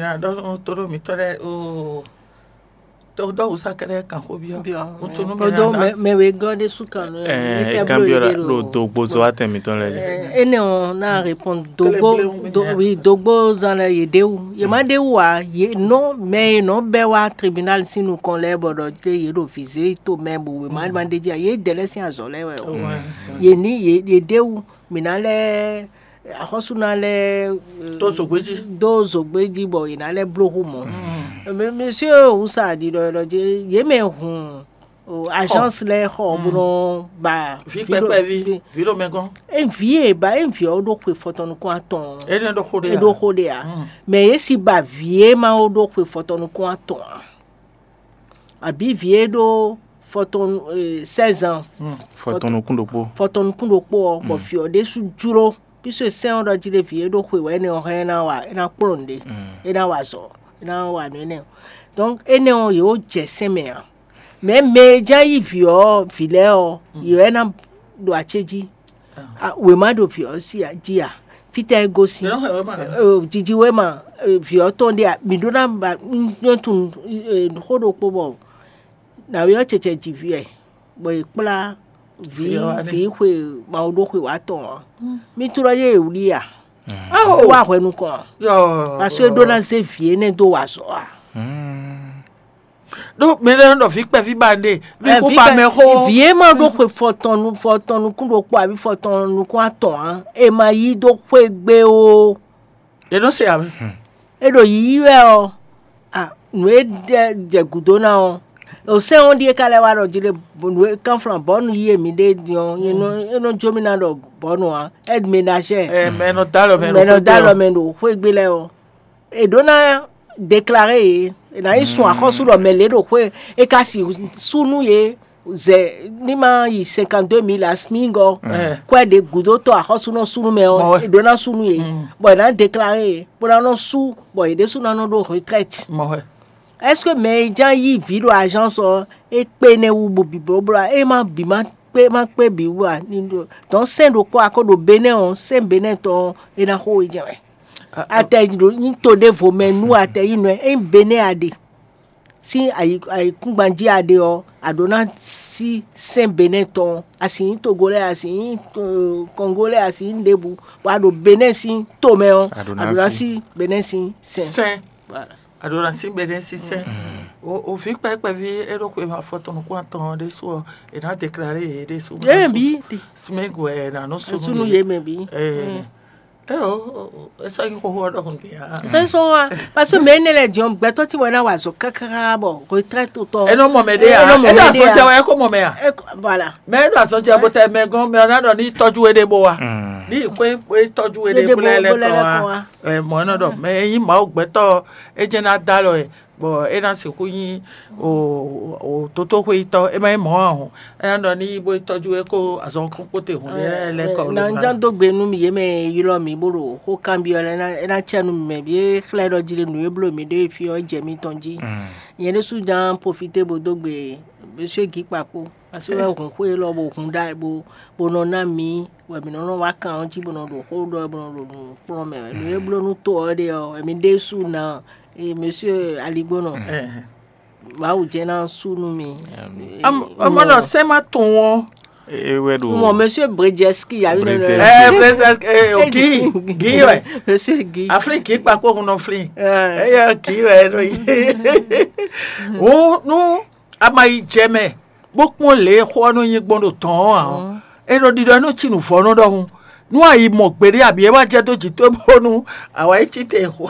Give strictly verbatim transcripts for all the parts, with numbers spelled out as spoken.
Ɖɔ to ɖo mǐtɔn lɛ́ɛ o, to ɖɔ wǔsá kɛɖɛ́ kan xó byɔ́. Ŋutsu nú mɛ Kodo mɛ wegɔ́ ɖé sú kan nú ɛ kan byɔ́ ɖo dogbozo atɛn mǐtɔn lɛ́ɛ jí. Ene ɔn na répond dogbo dogbo zan lɛ yě ɖe wú, yě má ɖe wú ǎ. Yě nɔ mɛ e nɔ bɛ wá tribunal sín nukɔn lɛ́ɛ bɔ ɖɔ jlé yě ɖo vizé to mɛ bɔ wěma ma ɖe jí ǎ. Yě dɛ lɛ́ sín azɔ̌ lɛ́ɛ wɛ o. Yě ní yě yě ɖe wú mǐ ná lɛ́ axɔ́sú ná lɛ́ Tó zǒgbéjí. Do zǒgbé jí bɔ yě ná lɛ́ bló xú mɔ̌. Mɛ- monsieur wusa ɖiɖɔ ɖɔ jí yě mɛ hun o, agence lɛ́ɛ xɔ bó nɔ ba Vi kpɛkpɛví, vi ɖo mɛ gɔ́n. Evi e ba evi ɔ́ ɖo xwe fɔtɔnukún atɔn. Énɛ́ ɖo xó ɖé. E ɖo xó ɖe a? Mɛ yě si ba vi e ma wo ɖo xwe fɔtɔnukún atɔn a? Àbí vi e ɖó fɔtɔn seize ans? Fɔtɔnukún ɖokpó. Fɔtɔnukún ɖokpó ɔ bɔ fi ɔ ɖésú jló. Puisque sɛn ɔ ɖɔ jí ɖe vi e ɖo xwe wɛ énɛ́ ɔ hɛn é ná wa é ná kplɔ́n nǔɖé, é ná wa azɔ̌, é ná wa nǔ énɛ́ ɔ. Donc énɛ́ ɔ yě wó jɛ sɛn mɛ ǎ. Mɛ mɛ e ján yí vǐ ɔ́ vǐ lɛ́ɛ ɔ́, yě wɛ ná ɖo acéjí. Wěma ɖo vǐ ɔ́ sí jí a? Fítɛ́ é gosín? Jiji wéma vǐ ɔ́ tɔn ɖé a? Mǐ ɖó ná ba nyɔ́ tunwun xó ɖokpó bɔ nǎwe ɔ́ cɛcɛ ji vǐ wɛ, bɔ è kplá vǐ vǐ xwe mawu ɖó xwe wǎ tɔn ɔ́, mí tlɔ́ yé è wlí a? Wá hwɛ nukɔn ɔ́, parce que é ɖó ná zé vǐ énɛ́ dó wa azɔ̌ a? Ɖó mɛ lɛ́ɛ nɔ ɖɔ vǐ kpɛví ba nɖe bí kú ba mɛ xó. Vǐ e ma ɖó xwe fɔtɔn nu fɔtɔn nukún ɖokpó abí fɔtɔn nukún atɔn ǎ, è ma yí dó xwé gbé ó. È nɔ se ǎ mɛ. É ɖo yiyi wɛ ɔ́, a nǔ e ɖɛ jɛ gǔdo ná ɔ́, o sɛ́n ɔ́ ɖíe ka lɛ́ wá ɖɔ jí ɖe nǔ e kánflán bɔ̌nu yí e mǐ ɖe din ɔ́, é nɔ jó mì ná ɖɔ bɔ̌nu ǎ, aide ménagère. Ɛ mɛ nɔ dó alɔ mɛ Mɛ nɔ dó alɔ mɛ ɖo xwé gbé lɛ́ɛ ɔ́, è ɖǒ ná déclaré yě, è nǎ yi sun axɔ́sú ɖɔ mɛ lě ɖo xwé, é ka si sú nú yě zɛ ní ma yi cinquante-deux mille asmígɔ kwɛ ɖě gǔdótɔ́ axɔ́súnɔ súnú mɛ ɔ́, è ɖǒ ná sú nú yě, bɔ è nǎ déclaré yě, bó ná nɔ sú, bɔ yě ɖésú ná nɔ ɖó retraite. Est-ce que mɛ e ján yí vǐ ɖo agence ɔ́, é kpé nɛ́ wú bó bǐ blóbló ǎ? É má bǐ má kpé má kpé bǐ wú ǎ? Donc sɛ́n ɖokpó a ko ɖo Benɛ́ ɔ́, sɛ́n Benɛ́ tɔn ɔ́, é ná xo we jɛ́n wɛ. Atɛ nyí to ɖěvo mɛ nú atɛ nyí nɔ ényí Benɛ́ a ɖe sín ayǐkúngban jí a ɖe ɔ́, a ɖǒ ná sí sɛ́n Benɛ́ tɔn, a sì nyí Togo lɛ́ɛ, a sì nyí Kɔngó lɛ́ɛ, a sì nyí ɖěbǔ, bɔ a ɖo Benɛ́ sín to mɛ ɔ́, a ɖǒ ná sí Benɛ́ sín sɛ́n. A ɖǒ ná sí Benɛ́ sín sɛ́n. O vǐ kpɛkpɛví é ɖo xwe afɔtɔnukún atɔn ɔ́ ɖésú ɔ́, è nǎ déclaré yě ɖésú. Yé bí Smig wɛ è nǎ nɔ sú sunu yé mɛ bí. Ɛ o, é sɔ́ nyí xóxó ɔ́ ɖɔhun din ǎ. Sɛnsɔn wa, parce que mɛ énɛ́ lɛ́ɛ din ɔ́, gbɛtɔ́ tí wọ́n ná wa azɔ̌ káká bɔ retraite tɔn. É nɔ mɔ mɛ ɖé ǎ. É ɖo azɔn jɛ wɛ é kó mɔ mɛ ǎ. Voilà. Mɛ é ɖo azɔn jɛ bó tɛ mɛ gɔ́n mɛ ɔ́ ná ɖɔ ní tɔ́jú we ɖé bó wa. Ní xwé é tɔ́jú we ɖé bó lɛ́ lɛ́ kɔ wa. Mɔ̌ é nɔ ɖɔ mɛ é nyí Mawu gbɛtɔ́ é jɛ́n ná dó alɔ ɛ. Bɔ é ná sixú nyí dotóxwéyítɔ́, é má nyí mɔ̌ ǎ hɔn. É ná ɖɔ ní yi bó yi tɔ́jú é kó azɔn kpókpóte hǔn ɖé lɛ́ kɔ. Na ŋján dó gbe nú mi yě mɛ ylɔ́ mi bó ɖo xó kanbyɔ́ lɛ́ɛ ná é ná cɛ nú mi mɛ bǐ é xlɛ́ ɖɔ jí ɖe nǔ e bló mi ɖe fí ɔ́ jɛ mitɔn jí. Nyɛ ɖésú ján profité bó dó gbe Monsieur Guy Kpakpo, parce que wɛ hun xwé élɔ́ bó hun ɖa bó bó nɔ ná mi wɛ mǐ nɔ nɔ wá kan ɔ́ jí bó nɔ ɖo xó ɖɔ bó nɔ ɖo nǔ kplɔ́n mɛ wɛ. Nǔ e bló nú to ɔ́ ɖe ɔ́, wɛ mi ɖésú ná. Ee, Monsieur Aligbónɔ, Mawu jɛ́n ná sú nú mi. Amɔnɔ sɛ́ má tún ɔ́. Ewé ɖo. Mɔ Monsieur Bredjeski, yà mí lọ. Bredjeski. Ɛ Bredjeski, ɛ o Guy, Guy wɛ. Monsieur Guy. Aflin Guy kpakpo hun nɔ flin. Ɛ yɛ Guy wɛ nɔ yi. Wo nu ama yi jɛ mɛ bó kpɔ́n lě e xó ɔ́ nɔ nyí gbɔn ɖo tɔn ɔ́ ǎ ɔ́, é nɔ ɖiɖɔ é nɔ cí nǔvɔ́nɔ ɖɔhun. Nú a yi mɔ gbeɖé abǐ é wá jɛ dó jǐ towe bónú a wá yi cí te xo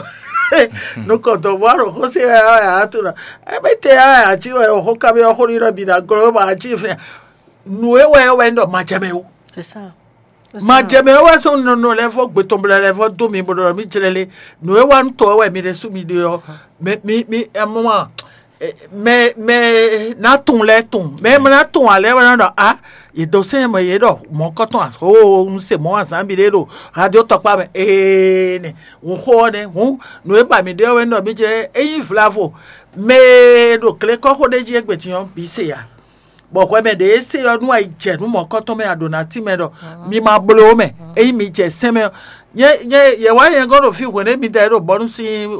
nukɔn dɔ̌n bó wá ɖo xó se wɛ wá yǎ tunɔ. É bɛ́ te wá yǎ cí wɛ xó kábí ɔ́ xó ɖiɖɔ bǐ ná glɔ́ bɔ a cí fɛn. Nǔ e wɛ ɔ́ wɛ un ɖɔ ma jɛ mɛ ó. C'est ça. Ma jɛ mɛ ó wɛ sɔ́ nɔnɔ lɛ́ɛ vɔ gbetɔnblɛ lɛ́ɛ vɔ dó mi bó ɖɔ mì jlɛ́ lé. Nǔ e wá nú tɔ ɔ́ wɛ mi ɖe sú mi ɖe ɔ́. Mi mi mi ɛmɔ mɛ mɛ ná tun lɛ́ tun mɛ mɛ ná tun alɛ wɛ ná ɖɔ a yě dó sɛn mɛ yě ɖɔ mɔ̌kɔtɔn a o un se mɔ̌ azǎn bi ɖé ɖo radio tɔkpá mɛ ee nɛ hun xó ɔ́ nɛ hun nǔ e ba mǐ ɖe ɔ́ wɛ nɔ mí jɛ é nyí vlavo mɛ e ɖo glekɔ́xo ɖé jí égbé din ɔ́ bǐ se ya. Bɔ hwɛ mɛ ɖě e se ɔ́ nú ayi jɛ nú mɔ̌kɔtɔn mɛ a ɖǒ ná tín mɛ ɖɔ mi ma bló mɛ ényí mi jɛ sɛn mɛ ɔ́. Nyɛ nyɛ yɛ wá nyɛ gɔ́ ɖo fí hwɛ̌n mi da é ɖo bɔ́ nú sín